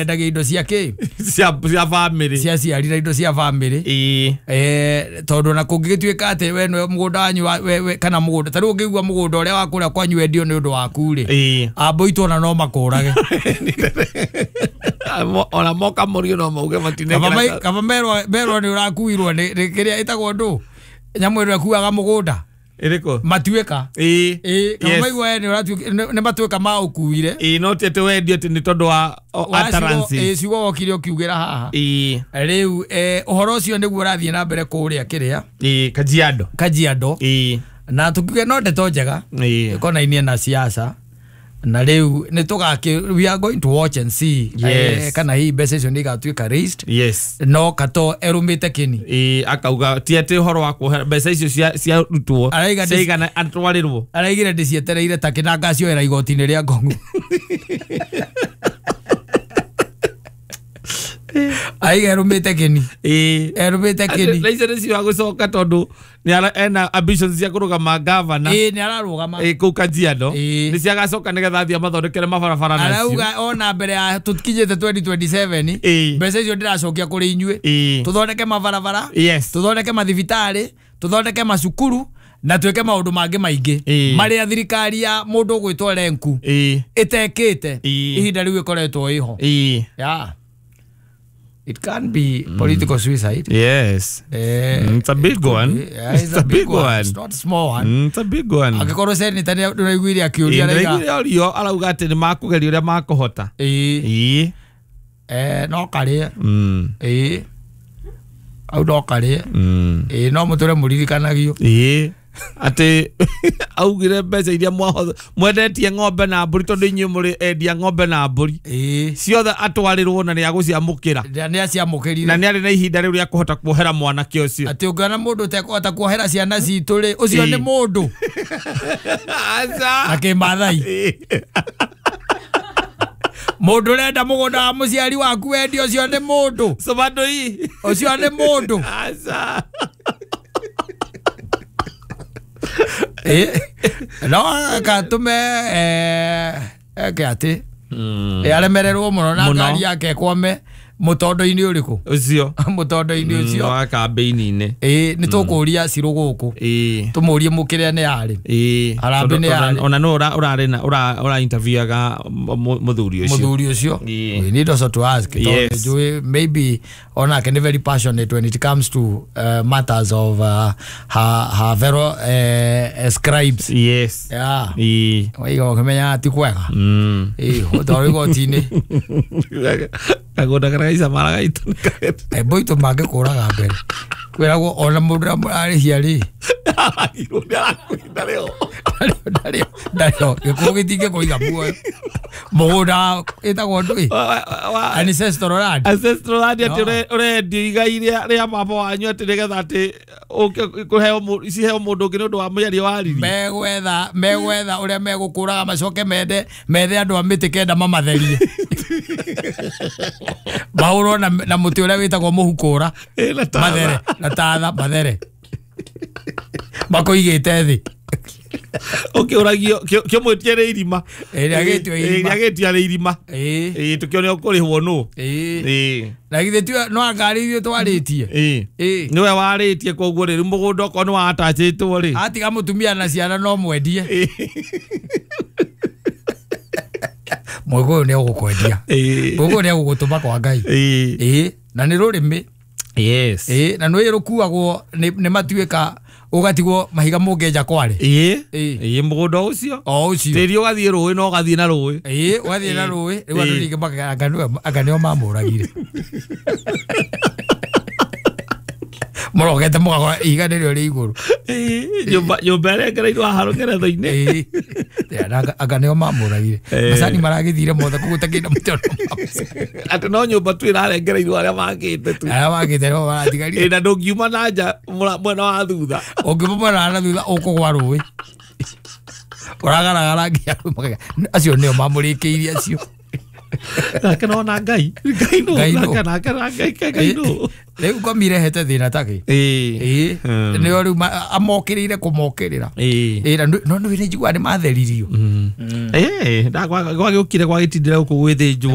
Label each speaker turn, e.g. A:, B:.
A: Endagia indo cia kĩ?
B: Cia family.
A: Cia ciari na indo cia family. Tondũ na kũngĩgĩtuĩka atĩ we nĩwe mũgũnda wanyu kana mũgũnda ta rĩu ũngĩigua mũgũnda ũrĩa wa kũrĩa kwanyu wendio nĩ ũndũ waku rĩ, ambũitwo ona no makũrage.
B: Ona moka mũrio no mauge matinekera.
A: Kaba merwo nĩ ũrakuirwo nĩ kĩrĩa ĩtagwo ndũ nyamũ ĩrĩa ĩkuaga mũgũnda.
B: Ĩrĩkũ?
A: Matuĩka. Kaba maigua we nĩ matuĩka ma ũkuire.
B: No ti atĩ wendio atĩ nĩ tondũ wa utterances.
A: Ciugo wokire ũkiugĩra haha. Rĩu ũhoro ũcio nĩguo ũrathiĩ na mbere kũrĩa kĩrĩa.
B: Kajiado.
A: Kajiado. Na tukiuge no ndeto njega. Ĩkonainie na siasa. Na rĩu nĩ tũgakĩ we are going to watch and see.
B: Yes.
A: Kana hihi mbeca icio nĩ igatuĩka raised.
B: Yes.
A: No Kato erũmĩte kĩni.
B: Akauga ti atĩ ũhoro wa kuohera mbeca icio ciarutwo ciaigana atwarĩrwo.
A: Araigire ndĩcietereire ta kĩna ngacioera igoti-inĩ rĩa Ngong'u. Aiga erũmĩte kĩni. Erũmĩte kĩni.
B: Na icio nĩcio agũcoka tondũ ena ambitions cia kũrũgama gavana.
A: Nĩ ararũgama.
B: Kũu Kajiado. Nĩ ciagacoka nĩgetha athiĩ amathondekere mabarabara nacio.
A: Arauga ona mbere ya tũkinyĩte 2027 mbeca icio ndĩracokia kũrĩ inyuĩ. Tũthondeke mabarabara.
B: Yes.
A: Tũthondeke mathibitarĩ, tũthondeke macukuru na twĩke maũndũ mangĩ maingĩ marĩa thirikari ya mũndũ ũgwĩtwo Lenku ĩtekĩte ihinda rĩu ĩkoretwo ĩho. Yeah. It can be political suicide.
B: Yes. It's a big one.
A: Yeah, it's a big one. It's not a small one.
B: It's a big one.
A: Angĩkorwo senator nĩ ndĩraiguire akĩũria
B: raiga. Ndĩraiguire arauga atĩ nĩ makũgeria ũrĩa makũhota.
A: No karĩe. Au no karĩe. No mũtũre mũririkanagio.
B: Atĩ augire mbeca iria mwendetie ng'ombe na mbũri tondũ inyuĩ mũrĩ endia ng'ombe na mbũri ciothe atwarĩrwo na nĩ agũciamũkĩra.
A: Nĩ aciamũkĩrire.
B: Na nĩ arĩ na ihinda rĩu rĩa kũhota kuohera mwanake ũcio.
A: Atĩ ũngĩona mũndũ ũtekũhota kuohera ciana citũ rĩ, ũcio nĩ mũndũ.
B: Aca.
A: Na kĩmathai. Mũndũ ũrenda mũgũnda wa mũciari waku wendio ũcio nĩ mũndũ.
B: Sobandoi.
A: Ũcio nĩ mũndũ.
B: Aca.
A: No akatũme eke atĩ aremererwo mũno na ngari yake ĩkwame mũtondo-inĩ ũrĩkũ?
B: Ũcio.
A: Mũtondo-inĩ ũcio.
B: Wa kambĩini-inĩ.
A: Nĩ tũkũria Cirũ gũkũ. Tũmũrie mũkĩrĩa nĩ yarĩ. Harambee nĩ yarĩ.
B: Ona no ũrarĩ na ũra interviewaga mũthuri ũcio.
A: Mũthuri ũcio. We need also to ask.
B: Yes.
A: Maybe onake nĩ very passionate when it comes to matters of her fellow scribes.
B: Yes.
A: Yeah. Waiga ũkĩmenya ti kwega. Ũtwarwo igoti-inĩ.
B: Kagũnda karĩa gaicamara gaitũ nĩ kahetũ.
A: Mbũitũ mangĩkũraga mbere. Kwĩragwo ona mũndũ ũrĩa mũrarĩhia rĩ.
B: Aragirwo nĩ arakwĩra rĩo.
A: Ndarĩo. Gĩkuũ gĩtingĩkũiga muoyo. Mũgũnda ĩtagwo ndũĩ? Ancestral land.
B: Ancestral land atĩ ũrendio igai rĩa baba wanyu atĩ nĩgetha atĩ ũke kũheo ciheo mũndũ ũngĩ nĩ ũndũ wa mĩario waririe.
A: Megwetha ũrĩa megũkũraga macoke mende methe andũ a mĩtĩ kenda mamatherie. Mahũrwo na mũtĩ ũrĩa wĩtagwo mũhukũra. Mathere na tatha mathere. Makũigĩte thĩ.
B: Ũkĩũragio kĩmwĩtie rĩ irima.
A: Rĩagĩtio irima.
B: Rĩagĩtio rĩ irima. Tũkĩone ũkũrĩhwo nũ.
A: Na githĩ ti no ngari ithuĩ twarĩtie.
B: Nĩwe warĩtie koguo rĩ mũgũnda okorwo nĩ watachĩtwo rĩ.
A: Atiga mũtumia na ciana no mwendie. Mũgũyũ nĩ egũkwendia. Mũgũyũ nĩ egũgũtũma kwa Ngai. Na nĩ rũrĩmĩ.
B: Yes.
A: Na nĩ rũkuagwo nĩ matuĩka ũgatigwo mahiga mũngĩenja kware.
B: Mũgũnda ũcio.
A: O ũcio.
B: Tĩri ũgathiĩ rũĩ na ũgathiĩ na rũĩ.
A: Ũgathiĩ na rũĩ. Rĩu andũ ningĩ anga nĩo mamũragire. Mũrogete mũgakora ihiga nĩrĩo rĩ igũrũ.
B: Nyũmba ĩrĩa ĩngereirwo haha rũngeretho-inĩ.
A: Anga nĩo mamũragire. Macani maragĩthire mothe koguo ũtakĩenda mũtĩ ona
B: Atĩ no nyũmba tu ĩrarengereirwo arĩa makĩte tu.
A: Arĩa makĩte nĩo maratigarire.
B: Na ndũngiuma na nja mwena wa thutha.
A: Ũngiuma mwena wa thutha ũkũgwa rũĩ. Ũragaragara nginya acio nĩo mamũrĩkĩirie acio.
B: Nake nona Ngai. Ngai nũ. Nake na Ngai Ngai nũ.
A: Rĩu ngomi irehete thĩna ta kĩ? Nĩo rĩu amokĩrĩire kũmokĩrĩra. No nĩ njiguaga nĩ matheririo.
B: Gwagĩũkire gwagĩtindĩra gũkũ gwĩthĩnjwo.